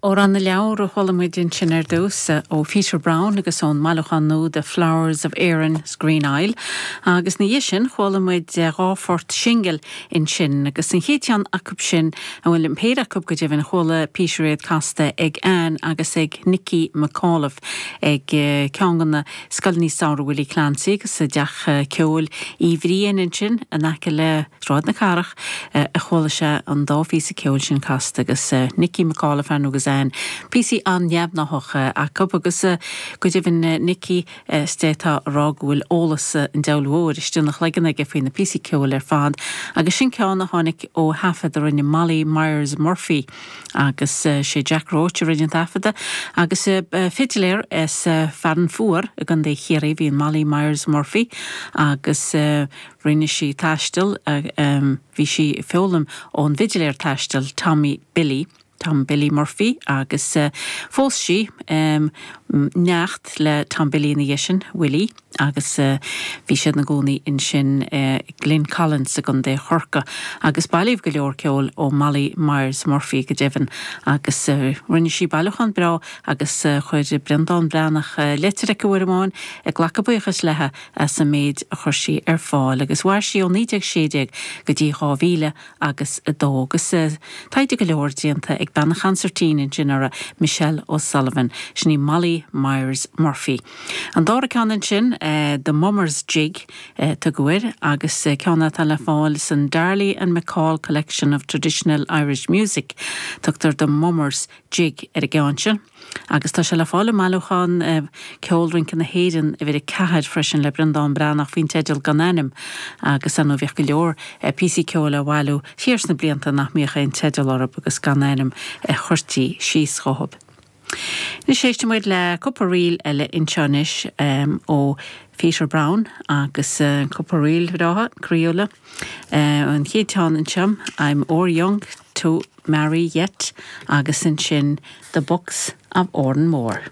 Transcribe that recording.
Amhrán na Leabhar a chuala muid ansin ar dtús ó Pheter Brown agus ón mbailiúchán nua The Flowers of Erin's Green Isle. Agus ina dhiaidh sin chuala muid dhá phort singil ansin agus an chéad cheann acu sin, bhuel an péire acu go deimhin, chuala Peter iad casta ag Anne agus ag Nicky McAuliffe ag ceann de na scoileanna samhraidh Willie Clancy agus i dTeach Ceoil Uí Bhriain ansin in aice le Sráid na Cathrach a chuala sé an dá phíosa ceoil sin casta agus Nicky McAuliffe ar ndóigh agus Anne, píosaí an-neamhghnácha acu agus go deimhin Nicky is d'fhéadfá a rá go bhfuil eolas an diabhail mhóir istigh ina chloigeann aige faoi na píosaí ceoil ar fad agus sin ceann a tháinig ó thaifead a rinne Molly Myers Murphy agus sé Jack Roche a rinne an taifeadadh agus fidiléir as Fearann Fuar i gContae Chiarraí a bhí in Molly Myers Murphy agus Rinne sí taisteal, bhí sí ag foghlaim ón bhfidiléir taistil Tommy Billy, Tom Billy Murphy, agus phós sí neacht le Tom Billy ina dhiaidh sin, Willie, agus bhí siad ina gcónaí ansin i Glen Collins i gContae Chorcaí. Agus bailíodh go leor ceoil ó Molly Myers Murphy go deimhin agus rinne sí bailiúchán breá agus chuir Breandán Breathnach leitir chuici uair amháin ag glacadh buíochais léi as an méid a chuir sí ar fáil agus mhair sí ó 1916 go dtí 2000 agus 2 agus taighde go leor déanta ag bean an chansairtín ansin uirthi, Michelle O'Sullivan. Sin í Molly Myers Murphy. An dara ceann ansin, The Mummers Jig a tugadh air agus ceann atá le fáil san Darley and McCall Collection of Traditional Irish Music. Tugtar The Mummers Jig ar an gceann sin agus tá sé le fáil i mbailiúchán Ceol Rince na hÉireann, uimhir 4 freisin le Breandán Breathnach faoin teideal Gan Ainm agus ar ndóigh bhíodh go leor píosaí ceoil á bhailiú thiar sna blianta nach mbíodh aon teideal orthu agus gan ainm a chuirtí síos dhóibh. Anois éistfidh muid le cúpla ríl eile anseo anois ó Pheter Brown agus cúpla ríl bhreátha croíúla. An chéad cheann anseo, I'm O'er Young to Marry Yet agus ansin The Bucks of Oranmore.